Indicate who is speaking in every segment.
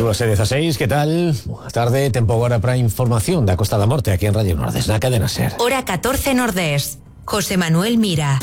Speaker 1: 2:16, que tal? Boa tarde, tempo agora para a información da Costa da Morte aquí en Radio Nordés, na cadena SER.
Speaker 2: Hora 14 Nordés. José Manuel Mira.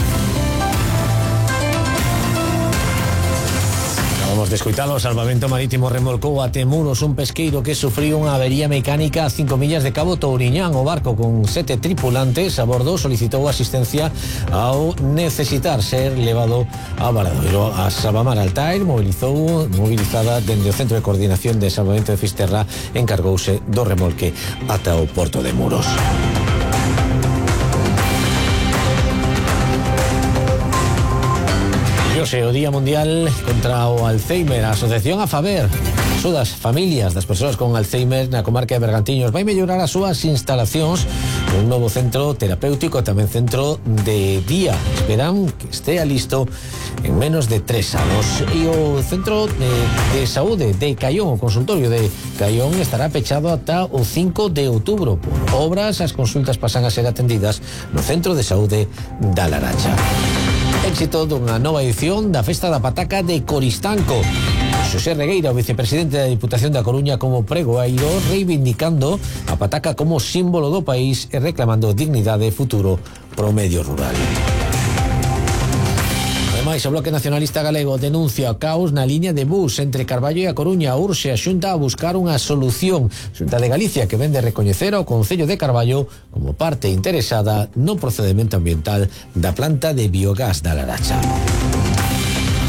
Speaker 1: Vamos de escoitar o Salvamento Marítimo remolcou a Temuros un pesqueiro que sufriu unha avería mecánica a 5 millas de Cabo Touriñán. O barco con 7 tripulantes a bordo solicitou asistencia ao necesitar ser levado a Valadoiro. A Salvamar Altair mobilizada dende o Centro de Coordinación de Salvamento de Fisterra, encargouse do remolque ata o Porto de Muros. O Día Mundial contra o Alzheimer. A Asociación AFABER axuda as familias das persoas con Alzheimer na comarca de Bergantiños. Vai mellorar as súas instalacións con un novo centro terapéutico e tamén centro de día. Esperan que estea listo en menos de 3 anos. E o Centro de Saúde de Caión, o consultorio de Caión, estará pechado ata o 5 de outubro. Por obras, as consultas pasan a ser atendidas no Centro de Saúde da Laracha. Éxito dunha nova edición da Festa da Pataca de Coristanco. Xosé Regueira, o vicepresidente da Diputación da Coruña, como pregoeiro, reivindicando a pataca como símbolo do país e reclamando dignidade e futuro pro medio rural. Ademais, o Bloque Nacionalista Galego denuncia o caos na liña de bus entre Carballo e a Coruña. Urxe a Xunta a buscar unha solución. Xunta de Galicia, que vende recoñecer ao Concello de Carballo como parte interesada no procedemento ambiental da planta de biogás da Laracha.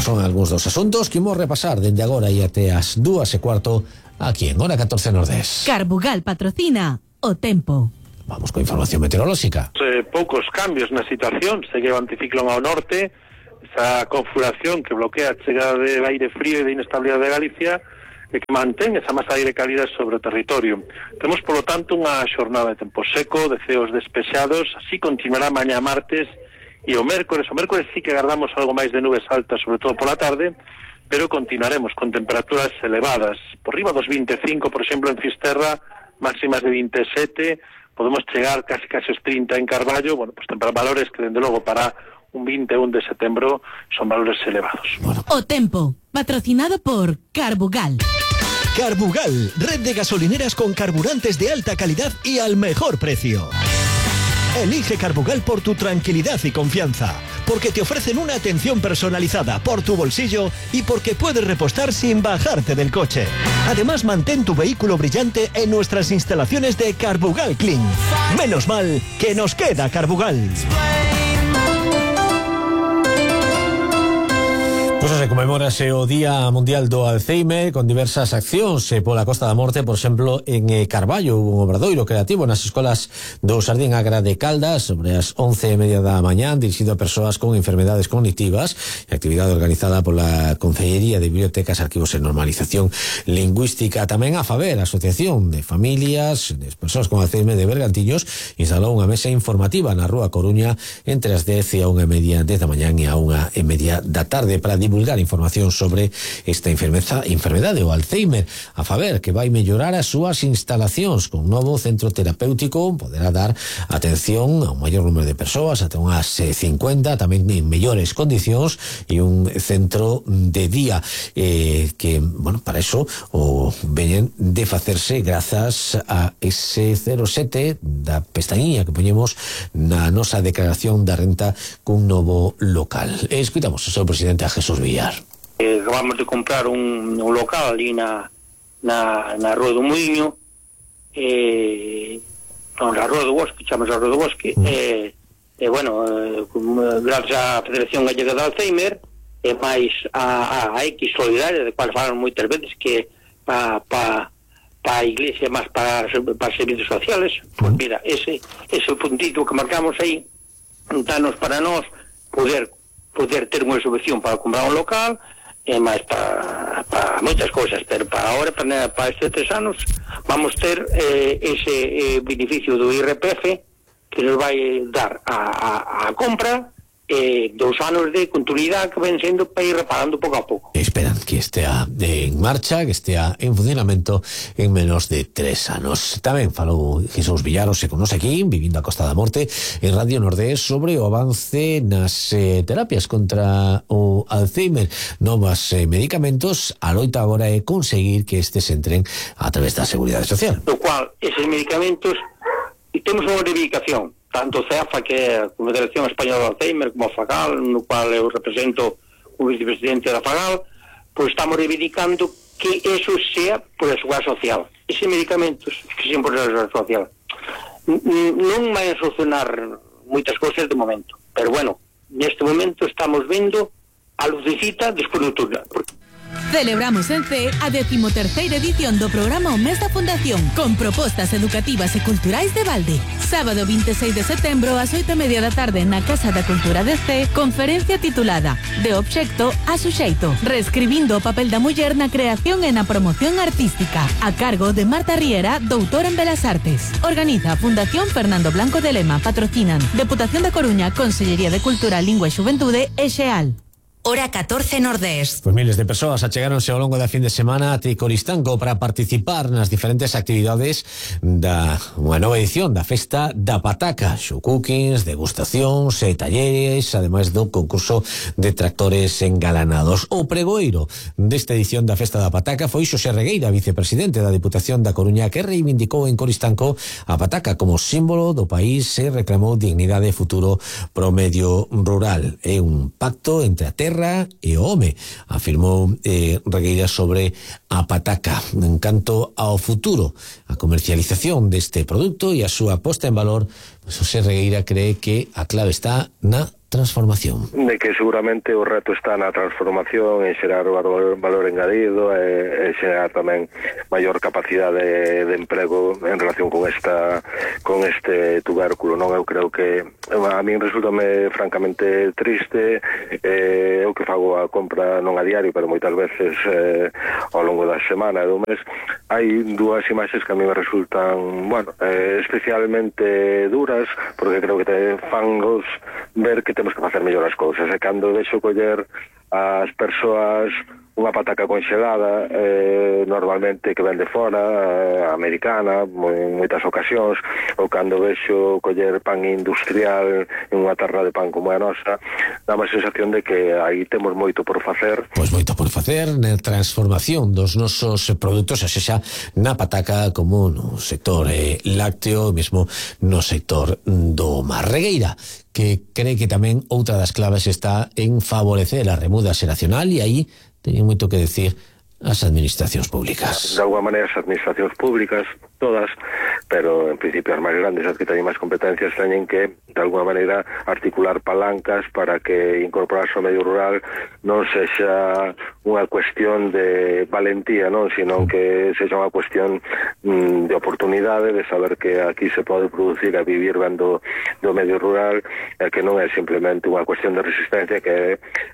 Speaker 1: Son algúns dos asuntos que imos repasar dende agora e até as 2:15 aquí en Hora 14 Nordés.
Speaker 3: Carbugal patrocina o tempo.
Speaker 1: Vamos con información meteorolóxica.
Speaker 4: Poucos cambios na situación. Segue o anticiclón ao norte, esa configuración que bloquea a chegada de aire frío e de inestabilidade de Galicia e que mantén esa masa de aire cálida sobre o territorio. Temos, polo tanto, unha xornada de tempo seco, de ceos despexados. Así continuará mañá martes e o mércores. O mércores sí que agardamos algo máis de nubes altas, sobre todo pola tarde, pero continuaremos con temperaturas elevadas. Por riba dos 25, por exemplo, en Fisterra, máximas de 27, podemos chegar casi os 30 en Carballo. Bueno, pues valores que, dende logo, para un 21 de setembro son valores elevados.
Speaker 3: O tempo, patrocinado por Carbugal.
Speaker 5: Carbugal, red de gasolineras con carburantes de alta calidad y al mejor precio. Elige Carbugal por tu tranquilidad y confianza, porque te ofrecen una atención personalizada por tu bolsillo y porque puedes repostar sin bajarte del coche. Además, mantén tu vehículo brillante en nuestras instalaciones de Carbugal Clean. Menos mal que nos queda Carbugal.
Speaker 1: Pois se comemorase o Día Mundial do Alzheimer con diversas accións pola Costa da Morte. Por exemplo, en Carballo un obradoiro creativo nas escolas do Sardín Agra de Caldas sobre as 11:30 da mañá, dirixido a persoas con enfermedades cognitivas, e actividade organizada pola Consellería de Bibliotecas, Arquivos e Normalización Lingüística. Tamén a FABER, a Asociación de Familias de Persoas con Alzheimer de Bergantiños, instalou unha mesa informativa na Rúa Coruña entre as 10 e a 1:30 da mañán e a 1:30 da tarde para divulgar información sobre esta enfermedade, o Alzheimer. A FABER, que vai mellorar as súas instalacións con un novo centro terapéutico, poderá dar atención a un maior número de persoas, ata unhas 50, tamén en mellores condicións, e un centro de día que, bueno, para eso o veñen de facerse grazas a ese 07 da pestañinha que poñemos na nosa declaración da renta cun novo local. Escuitamos o seu presidente, a Jesús Villar.
Speaker 6: Acabamos de comprar un local ali na Rúa do Muiño, na Rúa do Bosque, chamamos a Rúa do Bosque, bueno, gracias á Federación Gallega de Alzheimer e máis a X Solidaria, de cual falan moitas veces, que para a Iglesia, máis para servicios sociales. Pues mira, ese puntito que marcamos aí danos para nós poder ter unha subvención para comprar un local e máis para moitas cousas, pero para ahora, para estes 3 anos, vamos ter ese beneficio do IRPF que nos vai dar a compra 2 anos de continuidade que ven sendo para ir reparando pouco a pouco.
Speaker 1: Esperan que estea en marcha, que estea en funcionamento en menos de 3 anos. Tamén falou Jesús Villaros e con nos aquí, vivindo a Costa da Morte, en Radio Nordés, sobre o avance nas terapias contra o Alzheimer, novas medicamentos. A loita agora é conseguir que estes entren a través da Seguridade Social.
Speaker 6: Do cual, eses medicamentos, e temos unha reivindicación, tanto CEAFA, que é a Confederación Española de Alzheimer, como a FAGAL, no cual eu represento o vicepresidente da FAGAL, pois estamos reivindicando que eso sea por a Seguridade Social. Eses medicamentos que sean por a Seguridade Social non vai a solucionar moitas cousas de momento, pero bueno, neste momento estamos vendo a lucecita despois do túnel.
Speaker 3: Celebramos en C a 13ª edición do programa O Mes da Fundación, con propostas educativas e culturais de balde. Sábado 26 de setembro ás 8:30 da tarde na Casa da Cultura de C, conferencia titulada De obxecto a suxeito, reescribindo o papel da muller na creación e na promoción artística, a cargo de Marta Riera, doutora en Belas Artes. Organiza a Fundación Fernando Blanco de Lema, patrocinan Deputación da Coruña, Consellería de Cultura, Lingua e Xuventude e Xeal.
Speaker 2: Hora 14 Nordés.
Speaker 1: Pues miles de persoas achegáronse ao longo da fin de semana a Tricoristanco para participar nas diferentes actividades da unha nova edición da Festa da Pataca, show cookings, degustacións e talleres, ademais do concurso de tractores engalanados. O pregoeiro desta edición da Festa da Pataca foi Xosé Regueira, vicepresidente da Deputación da Coruña, que reivindicou en Coristanco a pataca como símbolo do país e reclamou dignidade e futuro pro medio rural. É un pacto entre a terra e o home, afirmou Regueira sobre a pataca. En canto ao futuro, a comercialización deste produto e a súa posta en valor, Xosé Regueira cree que a clave está na transformación.
Speaker 7: De que seguramente o reto está na transformación, en xerar valor engadido e xerar tamén maior capacidade de emprego en relación con este tubérculo, non? Eu creo que a min resultame francamente triste, eu que fago a compra non a diario, pero moitas veces ao longo da semana e do mes, hai dúas imaxes que a mí me resultan, especialmente duras, porque creo que te fan ver que temos que facer mellor as cousas, e cando deixo coller as persoas unha pataca conxelada, normalmente que ven de fora, americana, en moitas ocasións, ou cando vexo coller pan industrial en unha tarra de pan como a nosa, dá má sensación de que aí temos moito por facer.
Speaker 1: Pois moito por facer na transformación dos nosos produtos, a sexa na pataca como no sector lácteo, mesmo no sector do mar. Regueira, que cree que tamén outra das claves está en favorecer a remuda xeracional, e aí teñen moito que decir as administracións públicas.
Speaker 7: De alguma maneira as administracións públicas, todas, pero en principio as máis grandes, as que teñen máis competencias, teñen que de alguma maneira articular palancas para que incorporarse ao medio rural non sexa unha cuestión de valentía, non, sino que sexa unha cuestión de oportunidade, de saber que aquí se pode producir e vivir ben do medio rural, e que non é simplemente unha cuestión de resistencia, que é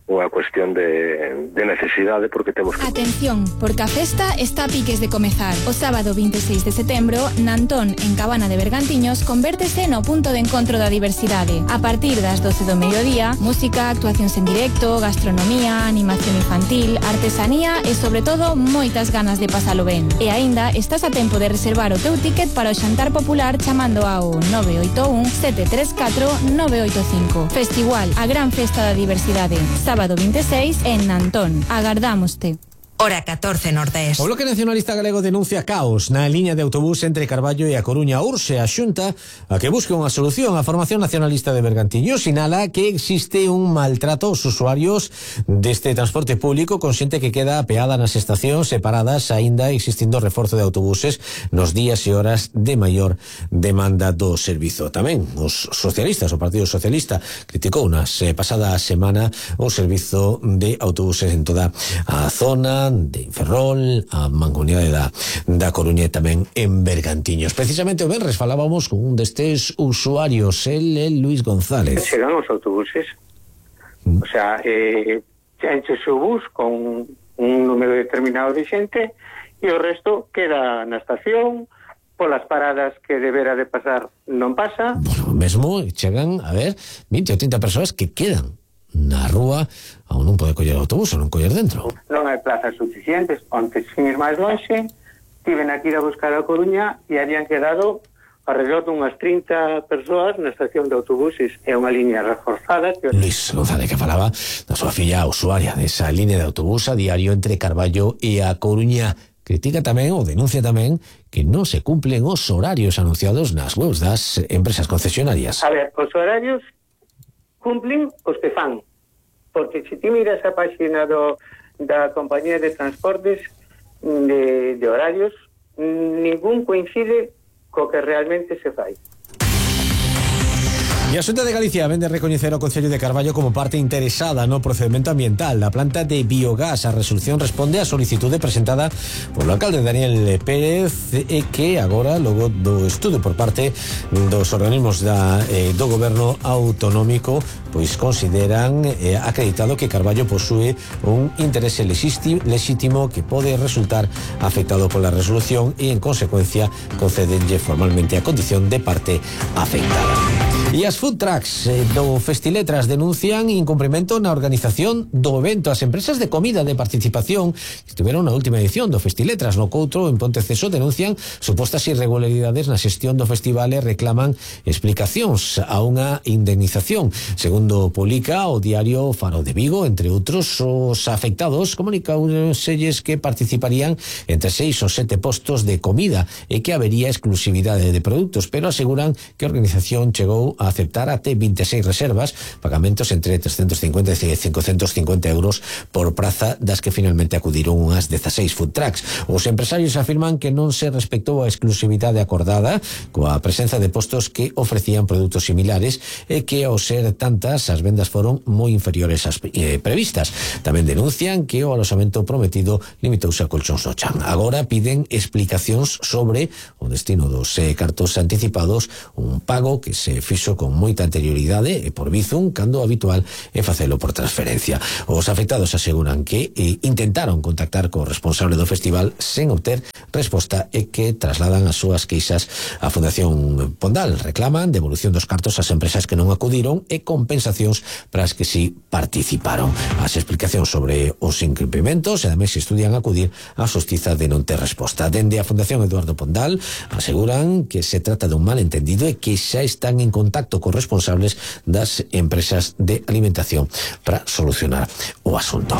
Speaker 7: unha cuestión de necesidade, porque temos que...
Speaker 8: Atención, porque a festa está a piques de comezar. O sábado 26 de setembro, Nantón, en Cabana de Bergantiños, convértese no punto de encontro da diversidade. A partir das 12 do mediodía, música, actuacións en directo, gastronomía, animación infantil, artesanía e, sobre todo, moitas ganas de pasalo ben. E aínda estás a tempo de reservar o teu ticket para o xantar popular chamando ao 981 734 985. Festival, a gran festa da diversidade. Sábado 26 en Nantón. Agardámoste.
Speaker 2: Hora 14 Nordés.
Speaker 1: O Bloque Nacionalista Galego denuncia caos na liña de autobús entre Carballo e A Coruña. Urxe a Xunta a que busque unha solución. A Formación Nacionalista de Bergantiños sinala que existe un maltrato aos usuarios deste transporte público, consciente que queda apeada nas estacións separadas, aínda existindo reforzo de autobuses nos días e horas de maior demanda do servizo. Tamén os socialistas, o Partido Socialista, criticou nas pasada semana o servizo de autobuses en toda a zona de Ferrol, a Mancomunidade da Coruña e tamén en Bergantiños. Precisamente o venres falábamos con un destes usuarios, el Luis González.
Speaker 9: Chegan os autobuses, o sea, enche o bus con un número determinado de xente e o resto queda na estación polas paradas que debera de pasar non pasa.
Speaker 1: Bueno, mesmo chegan, a ver, 20 ou 30 persoas que quedan na rúa ou non pode coller autobús ou non coller dentro.
Speaker 9: Non hai plazas suficientes. Onte, sin ir máis lonxe, tiven aquí a buscar a Coruña e habían quedado alrededor dunhas 30 persoas na estación de autobuses. É unha liña reforzada que...
Speaker 1: Luis González, que falaba da súa filla usuaria desa liña de autobús a diario entre Carballo e a Coruña. Critica tamén ou denuncia tamén que non se cumplen os horarios anunciados nas webs das empresas concesionarias.
Speaker 9: A ver, os horarios cumplen os que fan, porque se ti miras a página da compañía de transportes de horarios, ningún coincide co que realmente se fai.
Speaker 1: E a Xunta de Galicia vende recoñecer o Concello de Carballo como parte interesada no procedimento ambiental da planta de biogás. A resolución responde á solicitude presentada polo alcalde Daniel Pérez e que agora, logo do estudo por parte dos organismos do goberno autonómico, pois consideran acreditado que Carballo posúe un interese lexítimo que pode resultar afectado pola resolución e, en consecuencia, concedenlle formalmente a condición de parte afectada. E as food trucks do Festiletras denuncian incumprimento na organización do evento. As empresas de comida de participación que estiveron na última edición do Festiletras no Coutro en Ponteceso denuncian supostas irregularidades na xestión do festival e reclaman explicacións a unha indemnización. Segundo publica o diario Faro de Vigo, entre outros, os afectados comunicánselles que participarían entre 6 ou 7 postos de comida e que habería exclusividade de produtos, pero aseguran que a organización chegou a aceptar até 26 reservas, pagamentos entre 350 e 550 euros por praza, das que finalmente acudiron unhas 16 food trucks. Os empresarios afirman que non se respectou a exclusividade acordada coa presenza de postos que ofrecían produtos similares e que, ao ser tantas, as vendas foron moi inferiores ás previstas. Tamén denuncian que o aloxamento prometido limitouse a colchóns no chan. Agora piden explicacións sobre o destino dos cartos anticipados, un pago que se fixo con moita anterioridade e por Bizum, cando o habitual é facelo por transferencia. Os afectados aseguran que intentaron contactar co responsable do festival sen obter resposta e que trasladan as súas queixas á Fundación Pondal. Reclaman devolución dos cartos ás empresas que non acudiron e compensacións para as que sí participaron. As explicacións sobre os incumprimentos e ademais estudian acudir á xustiza de non ter resposta. Dende a Fundación Eduardo Pondal aseguran que se trata dun malentendido e que xa están en contacto cos responsables das empresas de alimentación para solucionar o asunto.